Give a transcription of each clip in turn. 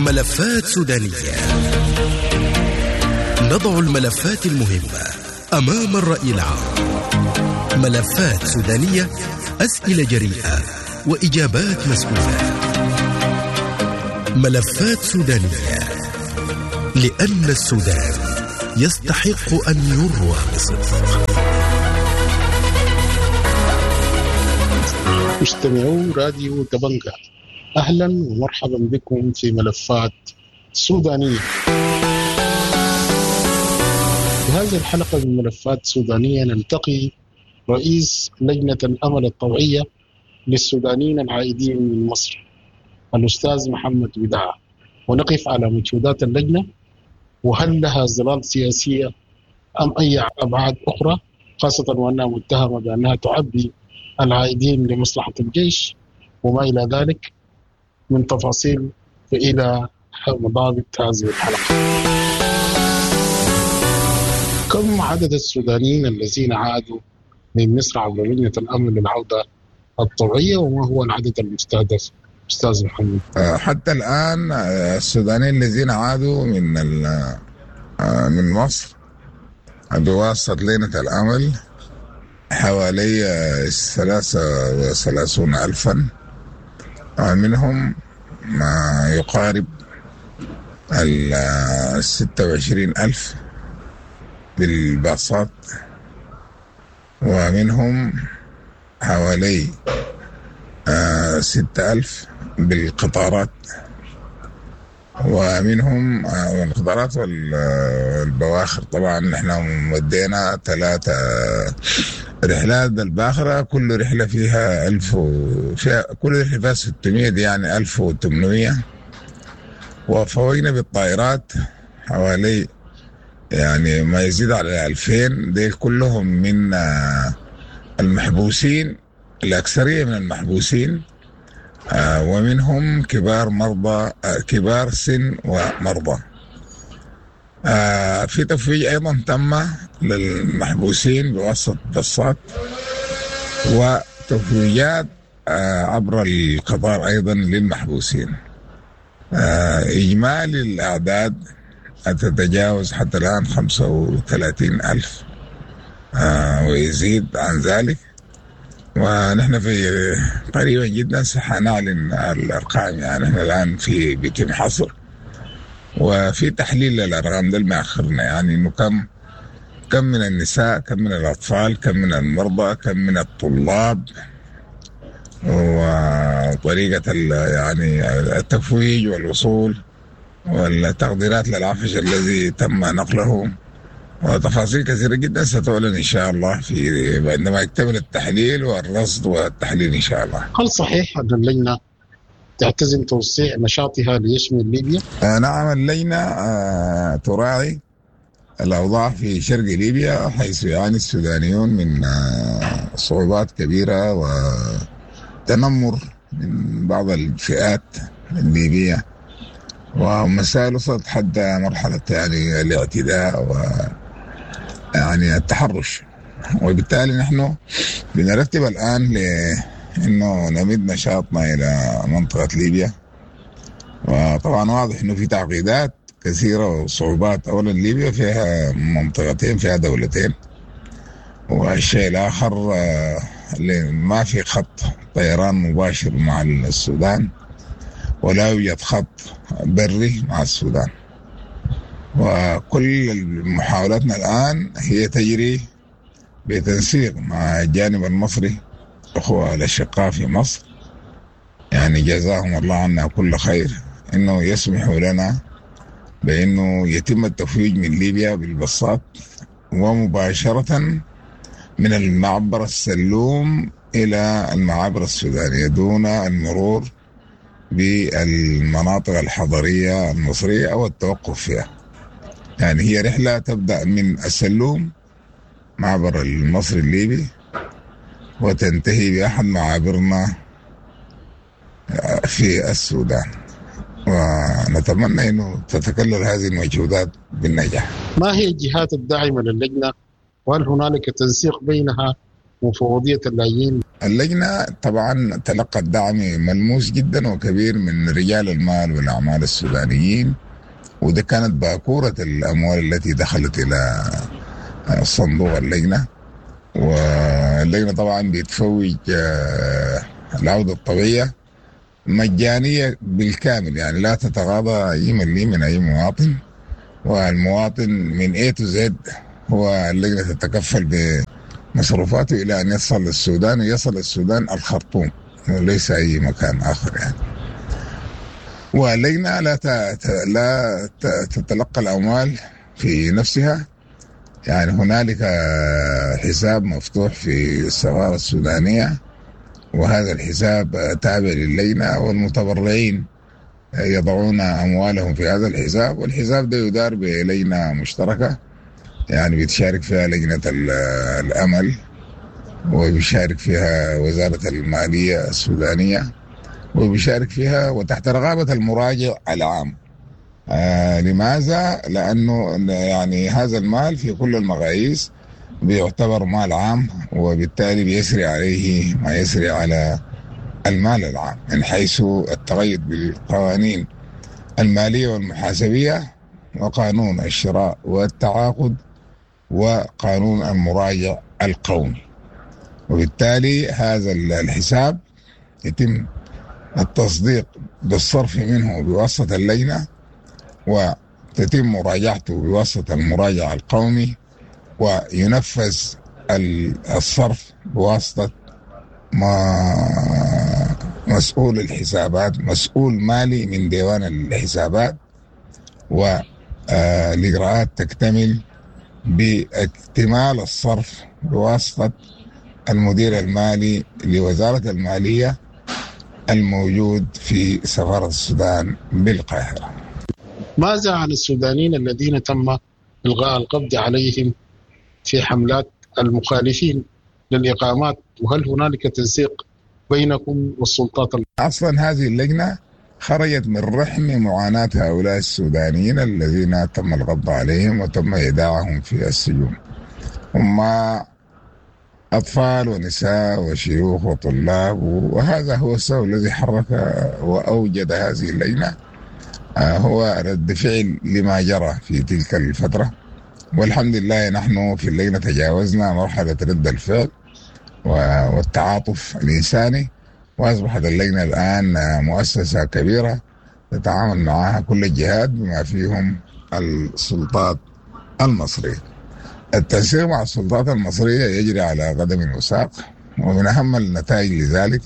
ملفات سودانية. نضع الملفات المهمة أمام الرأي العام. ملفات سودانية، أسئلة جريئة وإجابات مسؤولة. ملفات سودانية، لأن السودان يستحق أن يروى بصدق. مستمعو راديو دبنجة، أهلا ومرحبا بكم في ملفات سودانية. في هذه الحلقة من ملفات سودانية نلتقي رئيس لجنة الأمل الطوعية للسودانيين العائدين من مصر الأستاذ محمد وداع، ونقف على مجهودات اللجنة وهل لها ظلال سياسية أم أي أبعاد أخرى، خاصة وأنها متهمة بأنها تعبي العائدين لمصلحة الجيش وما إلى ذلك من تفاصيل. فإلى مضابط هذه الحلقة. كم عدد السودانيين الذين عادوا من مصر عبر لجنة الأمن للعودة الطوعية، وما هو العدد المستهدف أستاذ محمد؟ حتى الآن السودانيين الذين عادوا من مصر بواسطة لجنة الأمل حوالي 33 ألفا، منهم ما يقارب 26 ألف بالباصات، ومنهم حوالي 6 ألف بالقطارات، ومنهم القطارات والبواخر. طبعا نحن ودينا 3 رحلات بالباخرة، كل رحلة فيها 1000 فيها كل رحلة فيها 600، دي يعني 1800. وفوقنا بالطائرات حوالي يعني ما يزيد على 2000، دي كلهم من المحبوسين، الأكثرية من المحبوسين، ومنهم كبار مرضى، كبار سن ومرضى. في تفويج أيضا تم للمحبوسين بواسطة بصات، وتفويجات عبر القطار أيضا للمحبوسين. إجمالي الأعداد تتجاوز حتى الآن 35 ألف ويزيد عن ذلك، ونحن في قريبا جدا سنعلن الأرقام. يعني نحن الآن في بيتم حصر وفي تحليل للأرقام ده ما أخرنا، يعني إنه كم من النساء، كم من الأطفال، كم من المرضى، كم من الطلاب، وطريقة يعني التفويج والوصول والتقديرات للعفش الذي تم نقله، وتفاصيل كثيرة جدا ستعلن إن شاء الله في عندما يكتمل التحليل والرصد والتحليل إن شاء الله. هل صحيح أن اللجنة تعتزم توسيع نشاطها ليشمل ليبيا؟ نعم، اللجنة تراعي الأوضاع في شرق ليبيا، حيث يعاني السودانيون من صعوبات كبيرة وتنمر من بعض الفئات الليبية، ومسائل وصلت حتى مرحلة يعني الاعتداء و يعني التحرش. وبالتالي نحن بنرتب الآن لأنه نمد نشاطنا إلى منطقة ليبيا. وطبعا واضح أنه في تعقيدات كثيرة وصعوبات. أولا ليبيا فيها منطقتين، فيها دولتين، والشيء الآخر ما في خط طيران مباشر مع السودان، ولا يوجد خط بري مع السودان. وكل محاولاتنا الآن هي تجري بتنسيق مع الجانب المصري، أخوة الأشقاء في مصر، يعني جزاهم الله عنا كل خير، إنه يسمحوا لنا بإنه يتم التفويج من ليبيا بالبصات ومباشرة من المعبر السلوم إلى المعابر السودانية دون المرور بالمناطق الحضرية المصرية أو التوقف فيها. يعني هي رحلة تبدأ من السلوم معبر المصري الليبي وتنتهي بأحد معابرنا في السودان، ونتمنى أنه تتكلل هذه المجهودات بالنجاح. ما هي الجهات الداعمة للجنة، وهل هنالك تنسيق بينها ومفوضية اللاجئين اللجنة طبعا تلقت دعم ملموس جدا وكبير من رجال المال والأعمال السودانيين، وده كانت باكورة الأموال التي دخلت إلى صندوق اللجنة. واللجنة طبعا بتفوج العودة الطبيعية مجانية بالكامل، يعني لا تتغاضى أي مليم من أي مواطن، والمواطن من A to Z هو اللجنة تتكفل بمصروفاته إلى أن يصل للسودان، ويصل السودان الخرطوم وليس أي مكان آخر يعني. واللجنة لا تتلقى الأموال في نفسها، يعني هنالك حساب مفتوح في السفارة السودانية، وهذا الحساب تابع للجنة، والمتبرعين يضعون أموالهم في هذا الحساب، والحساب ده يدار بلجنة مشتركة، يعني بيتشارك فيها لجنة الأمل، وبيشارك فيها وزارة المالية السودانية، وبيشارك فيها وتحت رقابة المراجع العام. لماذا؟ لأنه يعني هذا المال في كل المقاييس بيعتبر مال عام، وبالتالي بيسري عليه ما يسري على المال العام من حيث التقيد بالقوانين المالية والمحاسبية وقانون الشراء والتعاقد وقانون المراجع القومي. وبالتالي هذا الحساب يتم التصديق بالصرف منه بواسطة اللجنة، وتتم مراجعته بواسطة المراجع القومي، وينفذ الصرف بواسطة مسؤول الحسابات، مسؤول مالي من ديوان الحسابات، والإجراءات تكتمل باكتمال الصرف بواسطة المدير المالي لوزارة المالية الموجود في سفارة السودان بالقاهرة. ماذا عن السودانيين الذين تم إلغاء القبض عليهم في حملات المخالفين للإقامات، وهل هنالك تنسيق بينكم والسلطات؟ أصلا هذه اللجنة خرجت من رحم معاناة هؤلاء السودانيين الذين تم القبض عليهم وتم إيداعهم في السجون. هم أطفال ونساء وشيوخ وطلاب، وهذا هو السبب الذي حرك وأوجد هذه اللجنة، هو رد فعل لما جرى في تلك الفترة. والحمد لله نحن في اللجنة تجاوزنا مرحلة رد الفعل والتعاطف الإنساني، وأصبحت اللجنة الآن مؤسسة كبيرة تتعامل معها كل الجهات بما فيهم السلطات المصرية. التنسيق مع السلطات المصرية يجري على قدم وساق، ومن أهم النتائج لذلك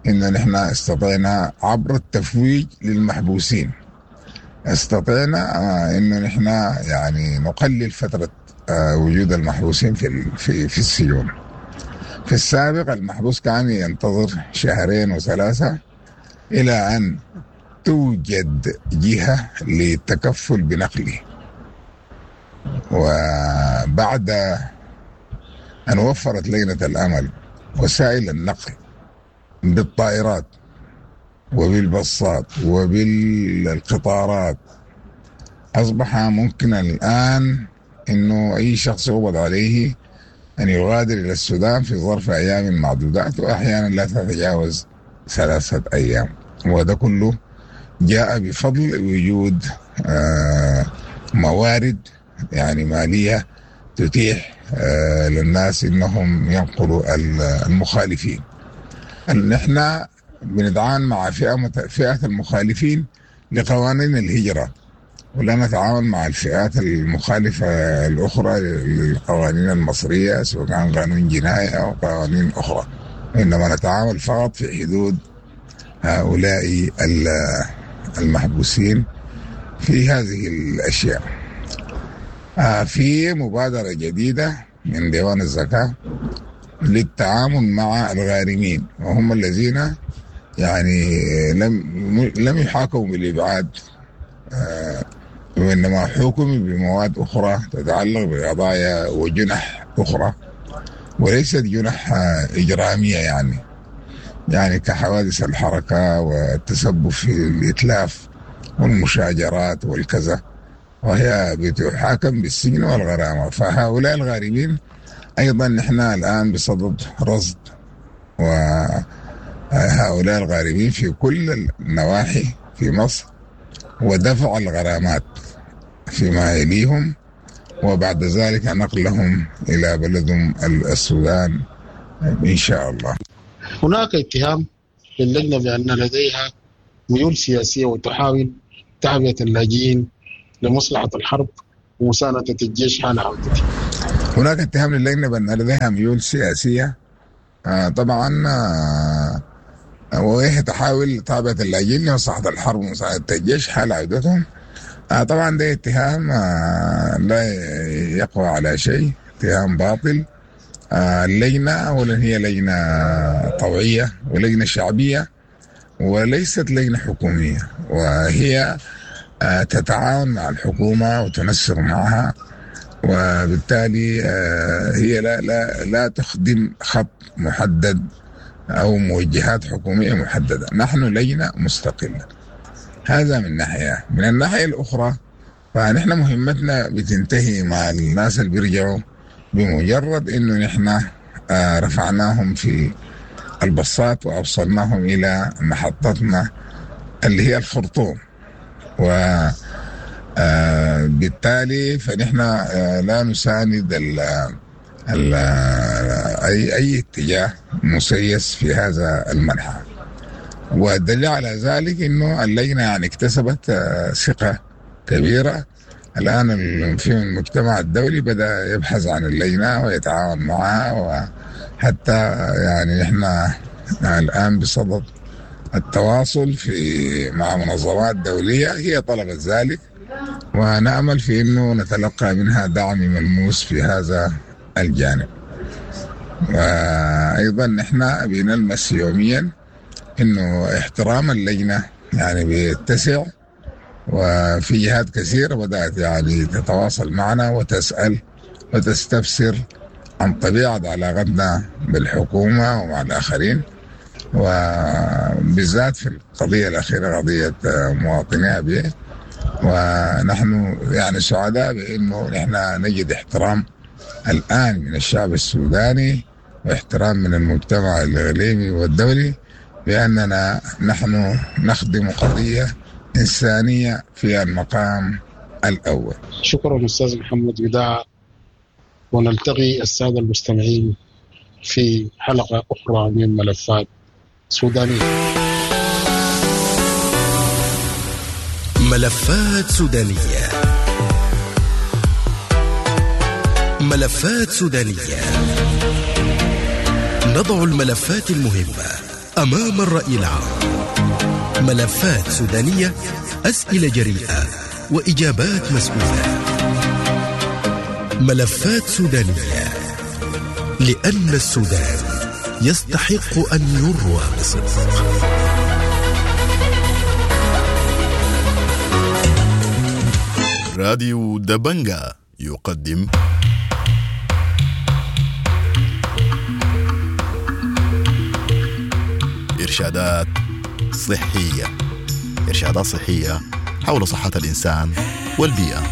إن نحن استطعنا عبر التفويج للمحبوسين، استطعنا إن نحن يعني نقلل فترة وجود المحبوسين في السجون. في السابق المحبوس كان ينتظر 2 و3 شهور إلى أن توجد جهة للتكفل بنقله، وبعد أن وفرت لجنة الأمل وسائل النقل بالطائرات وبالبصات وبالقطارات، أصبح ممكن الآن أنه أي شخص يقبض عليه أن يغادر إلى السودان في ظرف أيام معدودات، وأحيانا لا تتجاوز 3 أيام، وهذا كله جاء بفضل وجود موارد يعني مالية تتيح للناس إنهم ينقلوا المخالفين. نحن بنتعامل مع فئة المخالفين لقوانين الهجرة، ولا نتعامل مع الفئات المخالفة الأخرى للقوانين المصرية، سواء كان قانون جنائي أو قوانين أخرى، إنما نتعامل فقط في حدود هؤلاء المحبوسين في هذه الأشياء. في مبادرة جديدة من ديوان الزكاة للتعامل مع الغارمين، وهم الذين يعني لم يحاكموا بالإبعاد، وإنما حكموا بمواد أخرى تتعلق بقضايا وجنح أخرى، وليست جنح إجرامية، يعني كحوادث الحركة والتسبب في الإتلاف والمشاجرات والكذا، وهي بتحاكم بالسجن والغرامة. فهؤلاء الغارمين أيضا نحن الآن بصدد رصد وهؤلاء الغارمين في كل النواحي في مصر، ودفع الغرامات فيما يليهم، وبعد ذلك نقلهم إلى بلدهم السودان إن شاء الله. هناك اتهام للجنة بأن لديها ميول سياسية وتحاول تعبئة اللاجئين لمصلحة الحرب ومساندة الجيش حال عودته. هناك اتهام للجنة بأن لديها ميول سياسية طبعا، وهي تحاول تعبئة اللاجئين لمصلحة الحرب ومساندة الجيش حال عودتهم. طبعا ده اتهام لا يقوى على شيء، اتهام باطل. اللجنة أولا هي لجنة طوعية ولجنة شعبية وليست لجنة حكومية، وهي تتعاون مع الحكومة وتنسق معها، وبالتالي هي لا لا لا تخدم خط محدد أو موجهات حكومية محددة. نحن لجنة مستقلة، هذا من ناحية. من الناحية الأخرى فنحن مهمتنا بتنتهي مع الناس اللي بيرجعوا بمجرد إنه نحن رفعناهم في البصات وأوصلناهم إلى محطتنا اللي هي الخرطوم، وبالتالي فنحن لا نساند ال ال أي اتجاه مسيس في هذا المنحى. والدليل على ذلك إنه اللجنة يعني اكتسبت ثقة كبيرة. الآن في المجتمع الدولي بدأ يبحث عن اللجنة ويتعاون معها، وحتى يعني نحن الآن بصدد التواصل مع منظمات دولية هي طلبت ذلك، ونأمل في أنه نتلقى منها دعم ملموس في هذا الجانب. وأيضا نحن بنلمس يوميا أنه احترام اللجنة يعني بيتسع، وفي جهات كثيرة بدأت يعني تتواصل معنا وتسأل وتستفسر عن طبيعة علاقتنا بالحكومة ومع الآخرين، وبالذات في القضية الأخيرة قضية مواطني أبي. ونحن يعني سعداء بأنه نحن نجد احترام الآن من الشعب السوداني واحترام من المجتمع الإقليمي والدولي بأننا نحن نخدم قضية إنسانية في المقام الأول. شكرا أستاذ محمد وداع، ونلتقي السادة المستمعين في حلقة أخرى من ملفات سودانية. ملفات سودانية، ملفات سودانية، نضع الملفات المهمة أمام الرأي العام. ملفات سودانية، أسئلة جريئة وإجابات مسؤولة. ملفات سودانية، لأن السودان يستحق أن يروى بصدق. راديو دبنجا يقدم إرشادات صحية، إرشادات صحية حول صحة الإنسان والبيئة.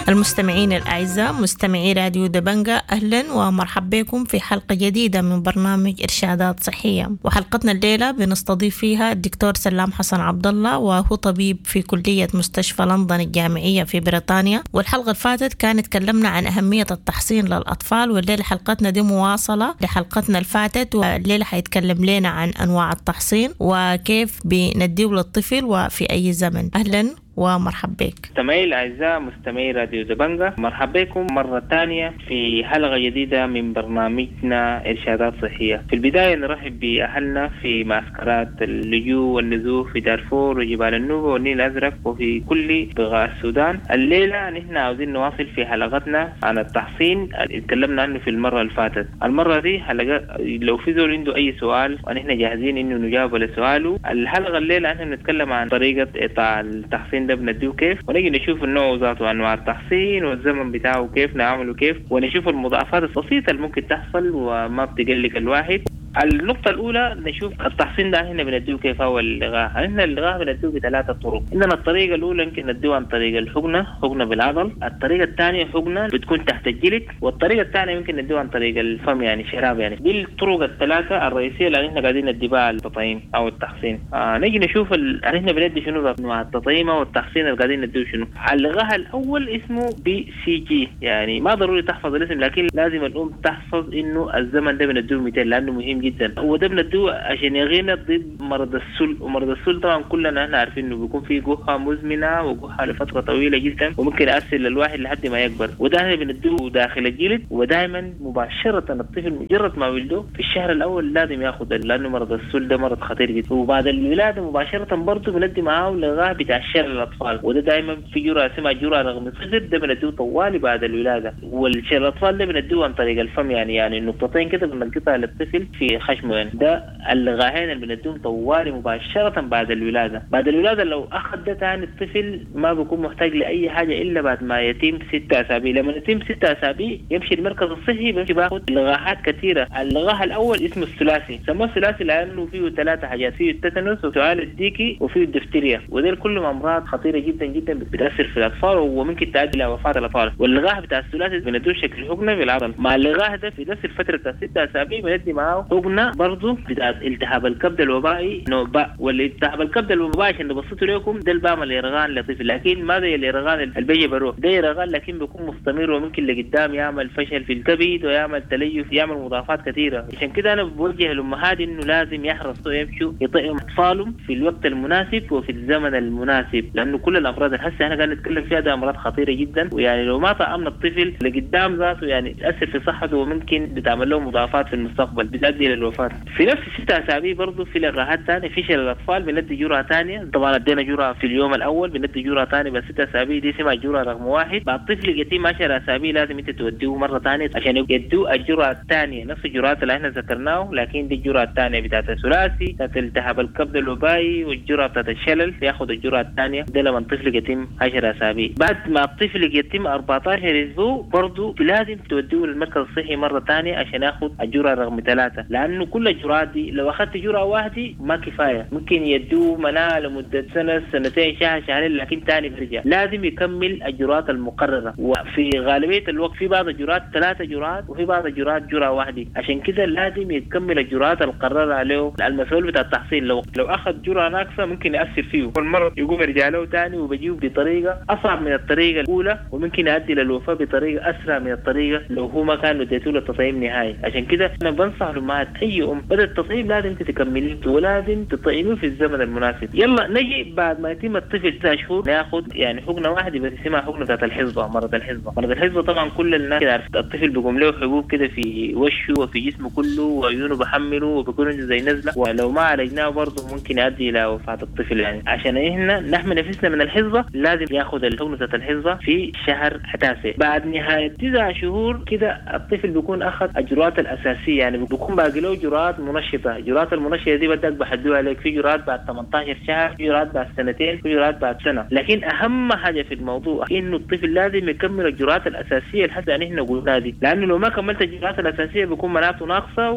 المستمعين الأعزاء مستمعي راديو دبنجا، أهلا ومرحبا بكم في حلقة جديدة من برنامج إرشادات صحية. وحلقتنا الليلة بنستضيف فيها الدكتور سلام حسن عبد الله، وهو طبيب في كلية مستشفى لندن الجامعية في بريطانيا. والحلقة اللي فاتت كانت تكلمنا عن أهمية التحصين للأطفال، والليلة حلقتنا دي مواصلة لحلقتنا اللي فاتت، والليلة حيتكلم لنا عن أنواع التحصين وكيف بنديه للطفل وفي أي زمن. أهلا ومرحبا بك. مستمعي الأعزاء مستمعي راديو دبنجا، مرحبا بكم مرة ثانية في حلقة جديدة من برنامجنا إرشادات صحية. في البداية نرحب بأهلنا في معسكرات اللجوء والنزوح في دارفور وجبال النوبة والنيل الأزرق وفي كل بقاع السودان. الليلة نحن عاوزين نواصل في حلقتنا عن التحصين اللي تكلمنا عنه في المرة اللي فاتت. المرة دي حلقة لو في زول عنده أي سؤال ونحن جاهزين إنه نجاوب على سؤاله. الحلقة الليلة نحن بنتكلم عن طريقة إعطاء التحصين ده بنديه كيف، ونجي نشوف النوع ذاته وانواع التحصين والزمن بتاعه كيف نعمله كيف، ونشوف المضاعفات البسيطه اللي ممكن تحصل وما بتقلق الواحد. النقطة الأولى نشوف التحصين ده هنا بنديه كيف هو اللقاح. احنا اللقاح بنديه بثلاثة طرق. عندنا الطريقة الأولى يمكن نديه عن طريق الحقنة، حقنة بالعضل. الطريقة الثانية حقنة بتكون تحت الجلد، والطريقة الثانية يمكن نديه عن طريق الفم يعني شراب يعني. دي الطرق الثلاثة الرئيسية اللي احنا قاعدين ندي بها التطعيم أو التحصين. نجي نشوف احنا بندي شنو مع التطعيم أو التحصين اللي قاعدين نديه شنو. اللقاح الأول اسمه BCG، يعني ما ضروري تحفظ الاسم لكن لازم الأم تحفظ إنه الزمن ده بنديه 200 لأنه مهم جدا. وده بنديه عشان يغينا ضد مرض السل، ومرض السل طبعا كلنا احنا عارفين انه بيكون فيه جحة مزمنة وجحة لفترة طويلة جدا وممكن يأثر للواحد لحد ما يكبر. وده احنا بنديه داخل الجلد، ودائما مباشرة الطفل مجرد ما ولده في الشهر الأول لازم ياخذ، لأنه مرض السل ده مرض خطير جدا. وبعد الولادة مباشرة برضه بندي معاه لقاح بتاع الشلل الأطفال، وده دائما في جرعة اسمها جرعة رقم 0، ده بنديه طوالي بعد الولادة. والشلل الأطفال ده بنديه عن طريق الفم، يعني نقطتين كده بنلقطها للطفل في خشمه يعني. ده اللقاحين اللي بنديهم طوالي مباشرة بعد الولادة. بعد الولادة لو أخذ ده تاني الطفل ما بيكون محتاج لأي حاجة إلا بعد ما يتم 6 أسابيع. لما يتم 6 أسابيع يمشي المركز الصحي بيمشي باخذ لقاحات كثيرة. اللقاح الأول اسمه الثلاثي، سموه الثلاثي لأنه فيه 3 حاجات، فيه التتنس وسعال الديكي وفيه الدفتيريا، وديل كلهم أمراض خطيرة جدا جدا بتأثر في الأطفال وممكن تؤدي إلى وفاة الأطفال. واللقاح بتاع الثلاثي بندوه شكل حقنة بالعضل. مع اللقاح ده في نفس الفترة بتاع 6 أسابيع بندي معاه حقنة برضه بتاعت التهاب الكبد الوبائي نوع باء. والالتهاب الكبد الوبائي عشان نبسطه لكم ده اللي بعمل يرغان لطفل، لكن ما زي اليرغان اللي بيجي بروح، ده يرغان لكن بيكون مستمر وممكن لقدام يعمل فشل في الكبد ويعمل تليف، يعمل مضاعفات كثيرة. عشان كده أنا بوجه الأمهات إنه لازم يحرصوا يمشوا يطعموا أطفالهم في الوقت المناسب وفي الزمن المناسب، لأنه كل الأمراض اللي هسه احنا قاعدين نتكلم فيها ده أمراض خطيرة جدا، ويعني لو ما طعمنا الطفل لقدام ذاته يعني تأثر في صحته وممكن بتعمل له مضاعفات في المستقبل بتؤدي للوفاة. في نفس 6 أسابيع برضه في لقاحات ثانية في شلل الأطفال بندي جرعة ثانية، طبعا ادينا جرعة في اليوم الأول بندي جرعة ثانية بس 6 أسابيع دي اسمها جرعة رقم 1. بعد الطفل يتم 10 أسابيع لازم أنت توديه مرة ثانية عشان يدوه الجرعة الثانية، نفس الجرعات اللي احنا ذكرناه لكن دي الجرعة الثانية بتاعت الثلاثي بتاعت التهاب الكبد الوبائي والجرعة بتاعت الشلل، ياخذ الجرعة الثانية ده لما الطفل يتم 10 أسابيع. بعد ما الطفل يتم 14 أسبوع برضه لازم توديه للمركز الصحي مرة ثانية عشان ياخذ الجرعة رقم 3، لأنه كل الجرعات دي لو أخذت جرعة واحدة ما كفاية، ممكن يدوه مناعة لمدة سنة سنتين شهر شهرين لكن ثاني بيرجع. لازم يكمل الجرعات المقررة، وفي غالبية الوقت في بعض الجرعات 3 جرعات وفي بعض الجرعات جرعة واحدة، عشان كده لازم يكمل الجرعات المقررة عليه المسؤول بتاع التحصين. لو أخذ جرعة ناقصة ممكن يأثر فيه والمرض يقوم يرجع له ثاني وبيجيه بطريقة أصعب من الطريقة الأولى، وممكن يؤدي للوفاة بطريقة أسرع من الطريقة لو هو ما كان اديته له التطعيم نهائي. عشان كده أنا بنصح الأمهات أي أم بدأ التطعيم لازم تكمليه ولازم تطعميه في الزمن المناسب. يلا نجي بعد ما يتم الطفل 9 شهور ناخذ يعني حقنة واحدة بس اسمها حقنة بتاعت الحصبة، مرض الحصبة. مرض الحصبة طبعا كل الناس كده عارف، الطفل بيقوم له حبوب كده في وشه وفي جسمه كله وعيونه بحمله وبيكون عنده زي نزلة، ولو ما عالجناه برضه ممكن يؤدي إلى وفاة الطفل. يعني عشان احنا نحمي نفسنا من الحصبة لازم ياخذ الحقنة بتاعت الحصبة في شهر 9. بعد نهاية 9 شهور كده الطفل بيكون أخذ الجرعات الأساسية، يعني بيكون باقي له جرعات منشطة. الجرعات المنشطة دي بدك بحدوها عليك، في جرعات بعد 18 شهر، في جرعات بعد سنتين، في جرعات بعد سنة. لكن أهم حاجة في الموضوع إنه الطفل لازم يكمل الجرعات الأساسية اللي حتى نحن قلناها دي، لأنه لو ما كملت الجرعات الأساسية بيكون مناعته ناقصة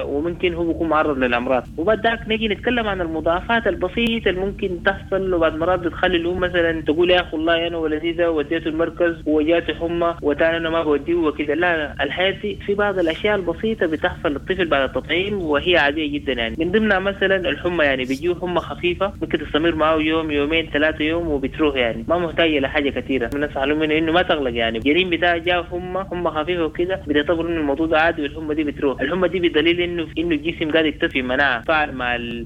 وممكن هو بيكون معرض للأمراض. وبعد ذاك نيجي نتكلم عن المضاعفات البسيطة اللي ممكن تحصل، وبعد مرات بتخلي الأم مثلا تقول يا أخي والله أنا ولدي ده وديته المركز وجاته حمى وتاني أنا ما بوديه وكده. لا، الحياة دي في بعض الأشياء البسيطة بتحصل للطفل بعد التطعيم وهي عادية جدا. يعني من ضمنها مثلا الحمى، يعني بيجيه حمى خفيفة ممكن تستمر معه يوم يومين 3 يوم وبتروح، يعني ما محتاجة لحاجة كثيرة. بنصح لهم إنه ما تغلق، يعني الجنين بتاعه جاء حمى خفيفة وكده بتعتبر إنه الموضوع ده عادي والحمى دي بتروح. الحمى دي بدليل إنه الجسم قاعد يكتسب مناعة فعل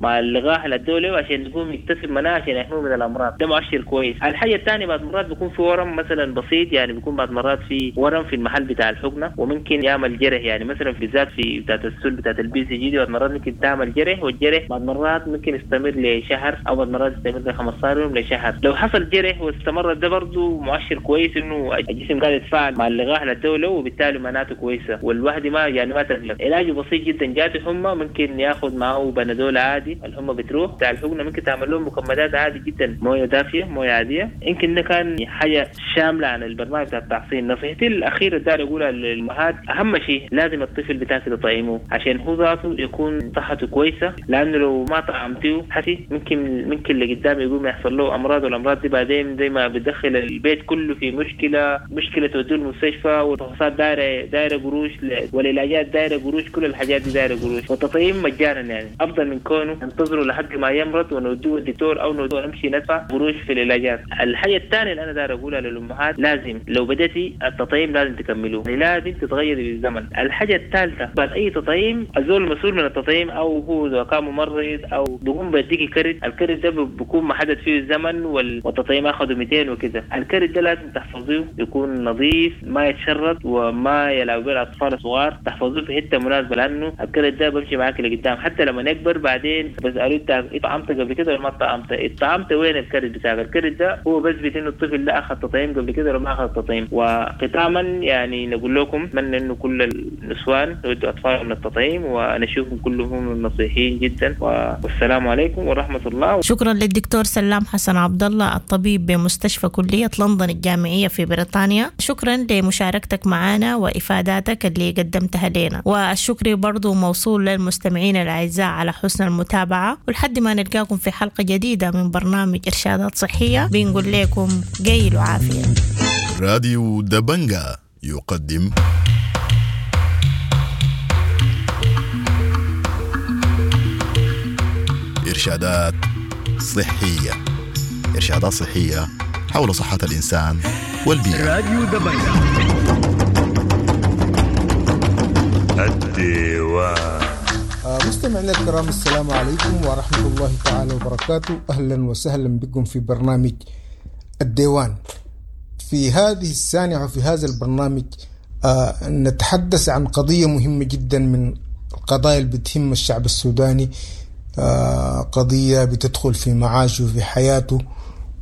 مع اللقاح اللي ادوه عشان يكون يكتسب مناعة عشان يحميه من الأمراض، ده مؤشر كويس. الحاجة الثانية بعد مرات بيكون في ورم مثلا بسيط، يعني بيكون بعد مرات في ورم في المحل بتاع الحقنة وممكن يعمل جرح، يعني مثلا بالذات في بتاعت السل بتاعت ال BCG دي بعد مرات ممكن تعمل جرح، والجرح بعد مرات ممكن يستمر لشهر او بعد مرات يستمر ل 15 يوم لشهر. لو حصل جرح واستمر ده برضه مؤشر كويس انه الجسم قاعد يتفاعل مع اللقاح للدولة وبالتالي مناعته كويسة والواحد ما يعني ما تقلق. علاجه بسيط جدا، جاته حمى ممكن ياخذ معه بنادول عادي الحمى بتروح. بتاع الحقنة ممكن تعمل لهم مكمدات عادي جدا، مويه دافيه مويه عادية. يمكن ده كان حاجة شاملة عن البرنامج بتاع التحصين. نصيحتي الاخيرة داير اقولها للامهات، اهم شيء لازم الطفل بتاعك تطعمه عشان عشان هو ذاته يكون صحته كويسة، لانه لو ما طعمتيه حسي ممكن لقدام يقوم يحصل له امراض، والامراض دي بعدين زي ما بتدخل البيت كله في مشكلة توديه المستشفى، والفحوصات دايرة قروش، والعلاجات دايرة قروش، كل الحاجات دي دايرة قروش. والتطعيم مجانا يعني افضل من كونه ننتظره لحد ما يمرض ونوديه الدكتور او نوديه نمشي ندفع قروش في العلاجات. الحاجة الثانية اللي انا داير اقولها للامهات، لازم لو بدأتي التطعيم لازم تكملوه، يعني لازم تتغيري بالزمن. الحاجة الثالثة، بعد اي تطعيم الزول المسؤول من التطعيم او هو اذا كان ممرض او بيقوم بيديكي كرت، الكرت ده بيكون محدد فيه الزمن والتطعيم اخذه 200 وكده. الكرت ده لازم تحفظيه، يكون نظيف، ما يتشرط وما يلعب به الاطفال الصغار، تحفظوه في حتة مناسبة، لانه الكرت ده بمشي معاك لقدام حتى لما يكبر. بعدين بسألوه انت اتطعمت قبل كده ولا ما اتطعمت؟ اتطعمت وين الكرت بتاعك؟ الكرت ده هو بثبت انه الطفل ده اخذ تطعيم قبل كده ولا ما اخذ تطعيم. وختاما يعني نقول لكم اتمنى انه كل النسوان يودوا اطفالهم للتطعيم، ونشوفهم كلهم نصيحين جدا. والسلام عليكم ورحمة الله. شكرا للدكتور سلام حسن عبد الله الطبيب بمستشفى كليه لندن الجامعية في بريطانيا، شكرا لمشاركتك معنا وافاداتك اللي قدمتها لنا، والشكر برضو موصول للمستمعين الاعزاء على حسن المتابعة، ولحد ما نلقاكم في حلقة جديدة من برنامج ارشادات صحية بنقول لكم قيل وعافيه. راديو دبنجا يقدم إرشادات صحية، إرشادات صحية حول صحة الإنسان والبيئة. راديو دبنجا الديوان. مستمعينا الكرام، السلام عليكم ورحمة الله تعالى وبركاته. أهلا وسهلا بكم في برنامج الديوان. في هذه السانعة وفي هذا البرنامج نتحدث عن قضية مهمة جدا من القضايا اللي بتهم الشعب السوداني، قضية بتدخل في معاشه وفي حياته.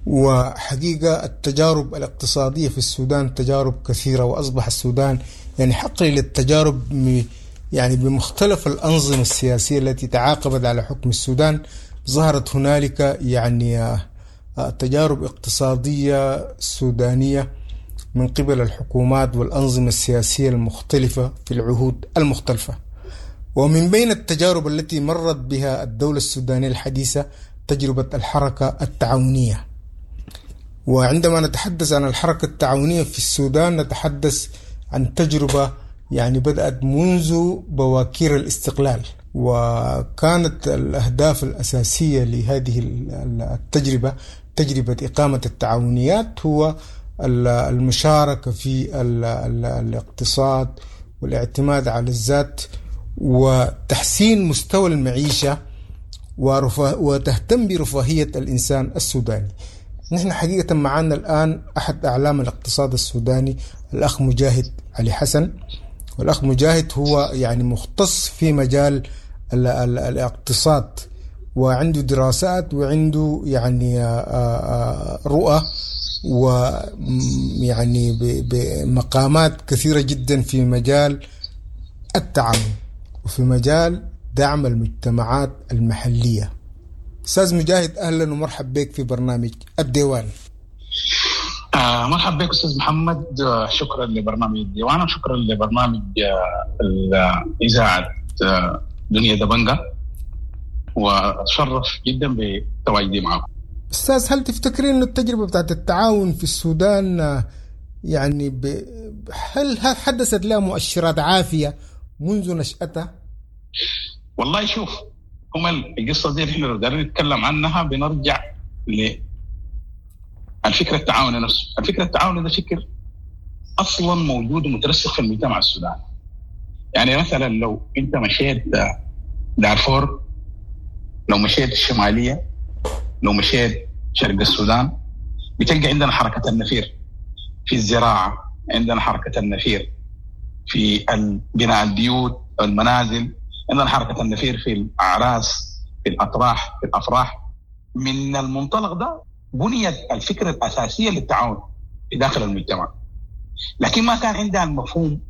وحقيقة التجارب الاقتصادية في السودان تجارب كثيرة، وأصبح السودان يعني حقل للتجارب يعني بمختلف الأنظمة السياسية التي تعاقبت على حكم السودان. ظهرت هنالك يعني تجارب اقتصادية سودانية من قبل الحكومات والأنظمة السياسية المختلفة في العهود المختلفة. ومن بين التجارب التي مرت بها الدولة السودانية الحديثة تجربة الحركة التعاونية. وعندما نتحدث عن الحركة التعاونية في السودان نتحدث عن تجربة يعني بدأت منذ بواكير الاستقلال، وكانت الأهداف الأساسية لهذه التجربة، تجربة إقامة التعاونيات، هو المشاركة في الاقتصاد والاعتماد على الذات وتحسين مستوى المعيشة وتهتم برفاهية الإنسان السوداني. نحن حقيقة معنا الآن أحد أعلام الاقتصاد السوداني، الأخ مجاهد علي حسن. والأخ مجاهد هو يعني مختص في مجال الاقتصاد، وعنده دراسات وعنده يعني رؤى ويعني بمقامات كثيرة جدا في مجال التعاون وفي مجال دعم المجتمعات المحلية. أستاذ مجاهد، أهلا ومرحب بك في برنامج الديوان. مرحب بك أستاذ محمد، شكرا لبرنامج الديوان وشكرا لبرنامج إذاعة دنيا دبنجة، وأتشرف جدا بتواجدي معكم. أستاذ، هل تفتكرين أن التجربة بتاعت التعاون في السودان يعني هل حدثت لها مؤشرات عافية منذ نشأتها؟ والله شوف، هم القصة دي احنا لو قدرنا نتكلم عنها بنرجع للفكرة التعاون نفسه. الفكرة التعاون ده فكر أصلا موجود ومترسخ في المجتمع السوداني. يعني مثلا لو أنت مشيت دارفور، لو مشيت الشمالية، لو مشيت شرق السودان، بتلقى عندنا حركة النفير في الزراعة، عندنا حركة النفير في بناء البيوت المنازل، عندنا حركة النفير في الأعراس، في الأطراح، في الأفراح. من المنطلق ده بنيت الفكرة الأساسية للتعاون في داخل المجتمع، لكن ما كان عندها المفهوم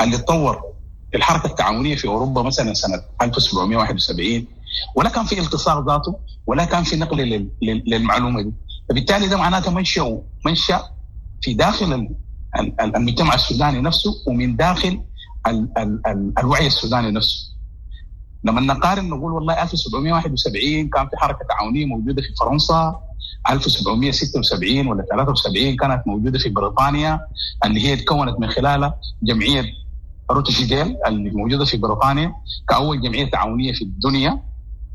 اللي تطور في الحركة التعاونية في أوروبا مثلا سنة 1771، ولا كان في التصاق ذاته، ولا كان في نقل للمعلومة دي. فبالتالي ده معناته منشأ في داخل المجتمع السوداني نفسه، ومن داخل ال ال ال الوعي السوداني نفسه. لما نقارن نقول والله 1771 كان في حركة تعاونية موجودة في فرنسا، 1776 ولا 73 كانت موجودة في بريطانيا اللي هي تكونت من خلالها جمعية روتشديل اللي موجودة في بريطانيا كاول جمعية تعاونية في الدنيا،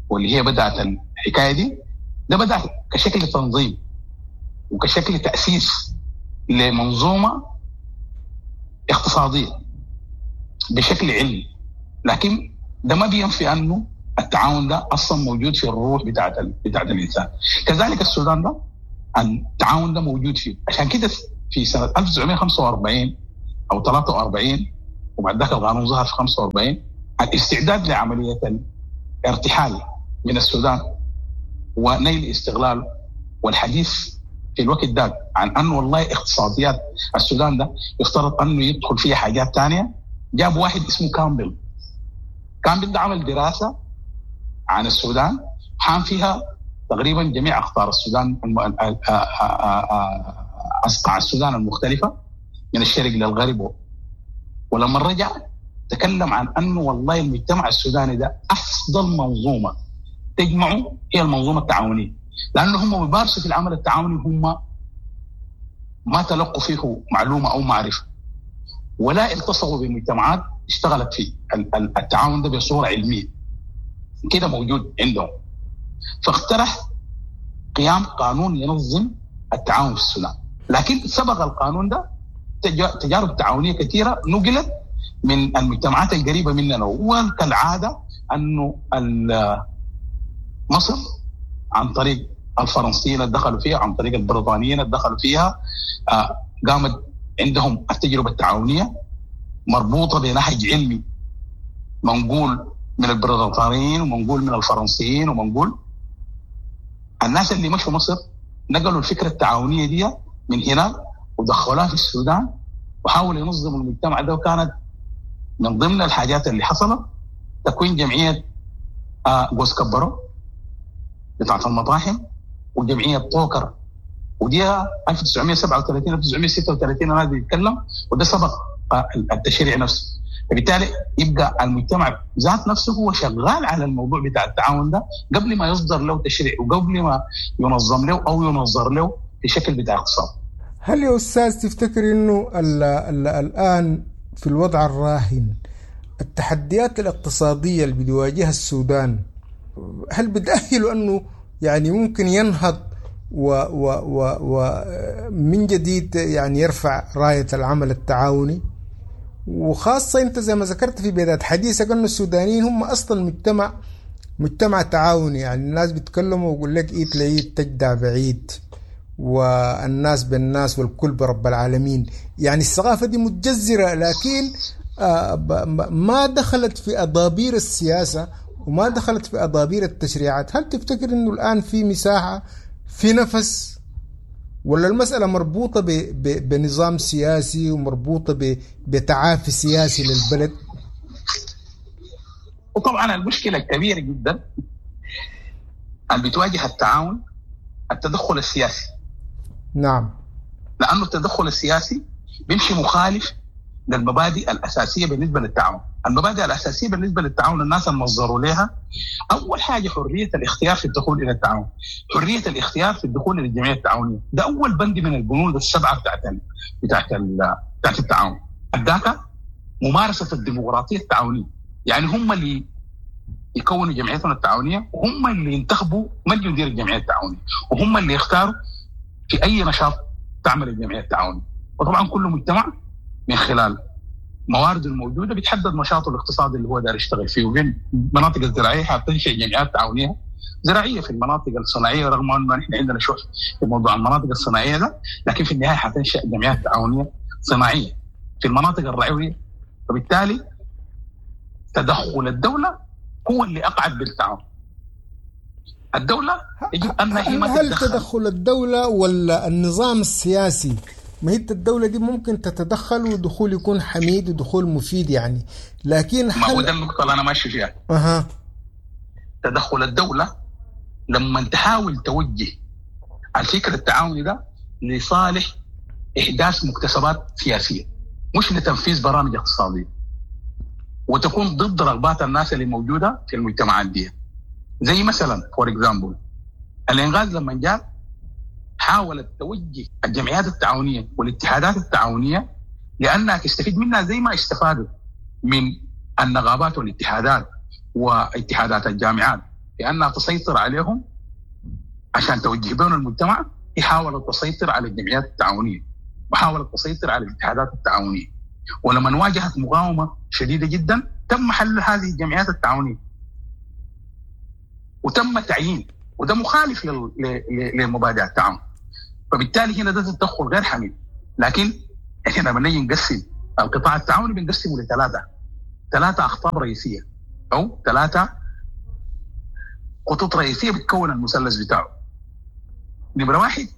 واللي هي بدات الحكاية دي. ده بدا كشكل تنظيم وكشكل تاسيس لمنظومه اقتصادية بشكل علمي، لكن ده ما بينفي انه التعاون ده اصلا موجود في الروح بتاعت الانسان. كذلك السودان ده التعاون ده موجود فيه، عشان كده في سنة 1945 او 43 وبعد ذاك القانون ظهر في 45، الاستعداد لعملية الارتحال من السودان ونيل استغلاله، والحديث في الوقت ده عن انه والله اقتصاديات السودان ده يفترض انه يدخل فيها حاجات ثانية. جاب واحد اسمه كامبل. كامبل ده عمل دراسة عن السودان حام فيها تقريبا جميع اقطار السودان، اصقاع السودان المختلفة من الشرق للغرب. ولما رجع تكلم عن انه والله المجتمع السوداني ده افضل منظومة تجمعه هي المنظومة التعاونية، لانه هم بيمارسوا في العمل التعاوني هم ما تلقوا فيه معلومة او معرفة، ولا التصقوا بمجتمعات اشتغلت في التعاون ده بصورة علمية كده موجود عندهم. فاقترح قيام قانون ينظم التعاون في السودان، لكن سبق القانون ده تجارب تعاونية كثيرة نقلت من المجتمعات القريبة مننا، وكالعادة انه مصر عن طريق الفرنسيين اللي دخلوا فيها، عن طريق البريطانيين اللي دخلوا فيها، قامت عندهم التجربة التعاونية مربوطة بنهج علمي منقول من البريطانيين ومنقول من الفرنسيين ومنقول. الناس اللي مشوا مصر نقلوا الفكرة التعاونية دي من هنا ودخلوها في السودان وحاولوا ينظموا المجتمع ده. وكانت من ضمن الحاجات اللي حصلت تكوين جمعية جوز كبرو بتاعت المطاحن وجمعية طوكر، ودي 1937 1936 انا بيتكلم، وده سبق التشريع نفسه. فبالتالي يبقى المجتمع ذات نفسه هو شغال على الموضوع بتاع التعاون ده قبل ما يصدر له تشريع وقبل ما ينظم له او ينظر له في شكل بتاع اقتصاد. هل يا استاذ تفتكر انه ال ال الان في الوضع الراهن التحديات الاقتصادية اللي بيواجهها السودان هل بتأهله انه يعني ممكن ينهض و و و و من جديد يعني يرفع راية العمل التعاوني؟ وخاصة أنت زي ما ذكرت في بداية حديثك أن السودانيين هم أصلا مجتمع تعاوني، يعني الناس بيتكلموا ويقول لك إيد لإيد تجدع بعيد، والناس بالناس والكل برب العالمين. يعني الثقافة دي متجذرة، لكن ما دخلت في أضابير السياسة وما دخلت في أضابير التشريعات. هل تفتكر أنه الآن في مساحة، في نفس، ولا المسألة مربوطة بنظام سياسي ومربوطة بتعافي سياسي للبلد؟ وطبعا المشكلة الكبيرة جدا اللي بتواجه التعاون التدخل السياسي. نعم، لأنه التدخل السياسي بيمشي مخالف للمبادئ الأساسية بالنسبة للتعاون. المبادئ الأساسية بالنسبة للتعاون الناس المنظروا لها أول حاجة حرية الاختيار في الدخول إلى التعاون، حرية الاختيار في الدخول إلى الجمعية التعاونية. ده أول بند من البنود السبعة بتاعت التعاون. الداتا ممارسة الديمقراطية التعاونية، يعني هم اللي يكونوا جمعيتهم التعاونية وهم اللي ينتخبوا من يدير الجمعية التعاونية وهم اللي يختاروا في أي نشاط تعمل الجمعية التعاونية. وطبعا كل مجتمع من خلال موارده الموجودة بيتحدد نشاطه الاقتصادي اللي هو داير يشتغل فيه. وبين المناطق الزراعية حتنشئ جمعيات تعاونية زراعية، في المناطق الصناعية رغم انه نحن عندنا شح في موضوع المناطق الصناعية ده، لكن في النهاية حتنشئ جمعيات تعاونية صناعية في المناطق الرعويه. فبالتالي تدخل الدولة هو اللي اقعد بالتعاون. الدولة يجب ان هي ما هل تدخل الدولة ولا النظام السياسي؟ ما هي الدولة دي ممكن تتدخل ودخول يكون حميد ودخول مفيد يعني، لكن ما هو ده النقطة اللي أنا ماشي فيها. تدخل الدولة لما تحاول توجه الفكر التعاوني ده لصالح إحداث مكتسبات سياسية مش لتنفيذ برامج اقتصادية. وتكون ضد رغبات الناس اللي موجودة في المجتمعات دي. زي مثلا for example الانغاز لما جاء حاولت توجه الجمعيات التعاونية والاتحادات التعاونية لانها تستفيد منها زي ما استفادوا من النقابات والاتحادات واتحادات الجامعات، لانها تسيطر عليهم عشان توجه بهم المجتمع. هي حاولت تسيطر على الجمعيات التعاونية وحاولت تسيطر على الاتحادات التعاونية، ولما واجهت مقاومة شديدة جدا تم حل هذه الجمعيات التعاونية وتم تعيين، وده مخالف لمبادئ التعاون. فبالتالي هنا ده تدخل غير حميد. لكن احنا لما نيجي نقسم القطاع التعاوني بنقسمه لثلاثة اخطاب رئيسية او 3 خطوط رئيسية بتكون المثلث بتاعه. نمره 1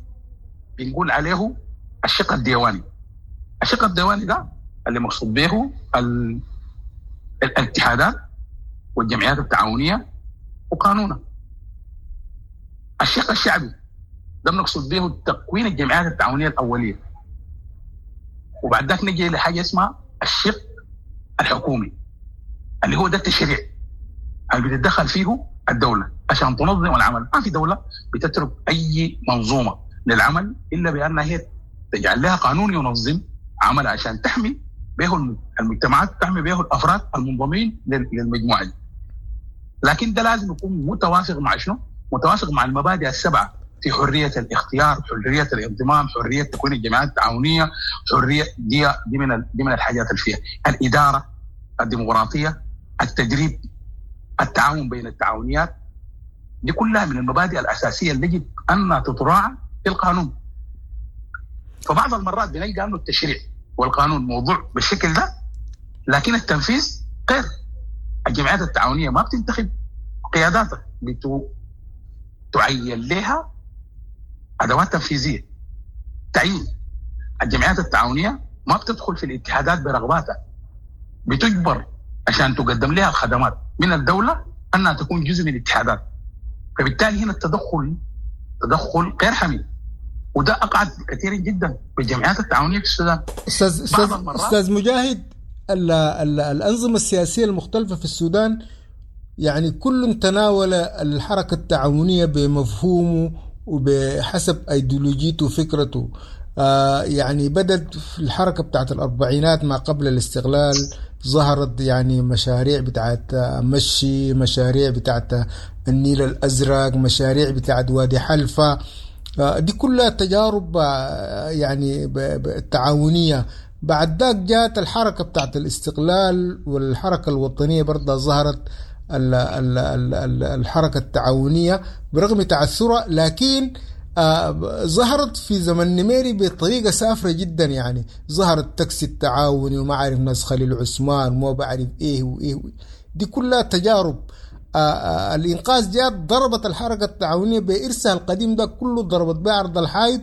بنقول عليه الشق الديواني. الشق الديواني ده اللي مقصود به الاتحادات والجمعيات التعاونية وقانونها. الشق الشعبي ده بنقصد به تكوين الجمعيات التعاونية الاولية. وبعد ذاك نجي لحاجة اسمها الشق الحكومي اللي هو ده التشريع اللي بتتدخل فيه الدولة عشان تنظم العمل. ما في دولة بتترك اي منظومة للعمل الا بانها هي تجعل لها قانون ينظم عملها عشان تحمي به المجتمعات، تحمي به الافراد المنضمين للمجموعة دي. لكن ده لازم يكون متوافق مع شنو؟ متوافق مع المبادئ السبعة في حرية الاختيار، حرية الانضمام، حرية تكوين الجمعيات التعاونية، حرية دي من الحاجات اللي فيها الادارة الديمقراطية، التدريب، التعاون بين التعاونيات. دي كلها من المبادئ الاساسية اللي يجب ان تتراعى في القانون. فبعض المرات بنلقى انه التشريع والقانون موضوع بالشكل ده، لكن التنفيذ غير. الجمعيات التعاونية ما بتنتخب قياداتها، تعين لها ادوات تنفيذية. تعيين الجمعيات التعاونية ما بتدخل في الاتحادات برغباتها، بتجبر عشان تقدم لها الخدمات من الدولة انها تكون جزء من الاتحادات. فبالتالي هنا التدخل تدخل غير حميد، وده اقعد كثير جدا بالجمعيات التعاونية في السودان. استاذ مجاهد، الانظمة السياسية المختلفة في السودان يعني كل تناول الحركة التعاونية بمفهومه وبحسب ايديولوجيته وفكرته. يعني بدأت في الحركة بتاعت الأربعينات ما قبل الاستقلال، ظهرت يعني مشاريع بتاعت مشي، مشاريع بتاعت النيل الأزرق، مشاريع بتاعت وادي حلفة. دي كلها تجارب يعني تعاونية. بعد ذاك جاءت الحركة بتاعت الاستقلال والحركة الوطنية، برضه ظهرت الحركة التعاونية برغم تعثرها، لكن ظهرت في زمن نميري بطريقة سافرة جدا. يعني ظهر التاكسي التعاوني وما عارف ناس خليل عثمان وما بعرف ايه وايه، دي كلها تجارب. الإنقاذ جاءت ضربت الحركة التعاونية بإرثها القديم ده كله، ضربت به عرض الحائط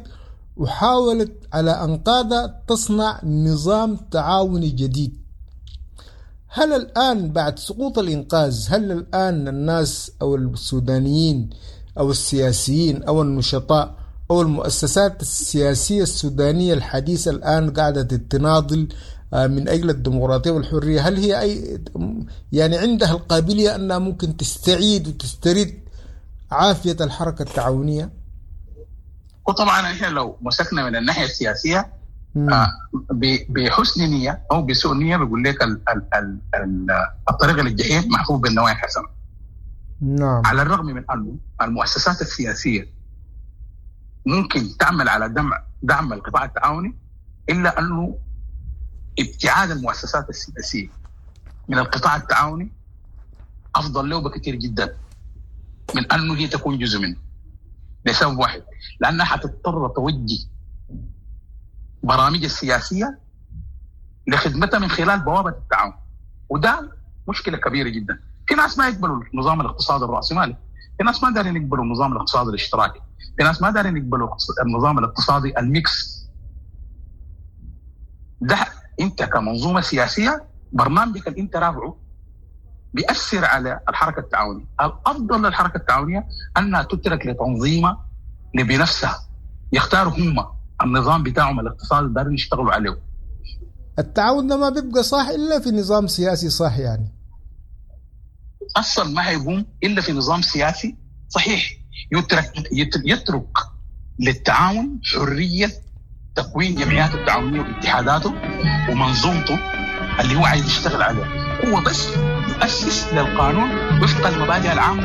وحاولت على أنقاضها تصنع نظام تعاوني جديد. هل الآن بعد سقوط الإنقاذ، هل الآن الناس أو السودانيين أو السياسيين أو النشطاء أو المؤسسات السياسية السودانية الحديثة الآن قاعدة تناضل من أجل الديمقراطية والحرية، هل هي أي يعني عندها القابلية أنها ممكن تستعيد وتسترد عافية الحركة التعاونية؟ وطبعا احنا لو مسكنا من الناحية السياسية بحسن نية أو بسوء نية بيقول لك الطريق للجحيم محفوف بالنوايا الحسنة. نعم. على الرغم من أنه المؤسسات السياسية ممكن تعمل على دعم القطاع التعاوني، إلا أنه ابتعاد المؤسسات السياسية من القطاع التعاوني أفضل له بكثير جدا من أنه هي تكون جزء منه، لسبب واحد، لأنها حتضطر توجه برامج السياسية لخدمتها من خلال بوابة التعاون، وده مشكلة كبيرة جدا. في ناس ما يقبلوا النظام الاقتصادي الرأسمالي، في ناس ما دارين يقبلوا النظام الاقتصادي الاشتراكي، في ناس ما دارين يقبلوا النظام الاقتصادي ال mix. ده انت كمنظومة سياسية برنامجك اللي انت رافعه بيأثر على الحركة التعاونية. الأفضل للحركة التعاونية أنها تترك لتنظيمها بنفسها، يختاروا هم النظام بتاعهم الاقتصادي اللي دارين يشتغلوا عليه. التعاون ده ما بيبقى صح الا في نظام سياسي صح يعني. اصلا ما هيقوم الا في نظام سياسي صحيح يترك للتعاون حرية تكوين جمعياته التعاونية واتحاداته ومنظومته اللي هو عايز يشتغل عليها، هو بس يؤسس للقانون وفق المبادئ العامة.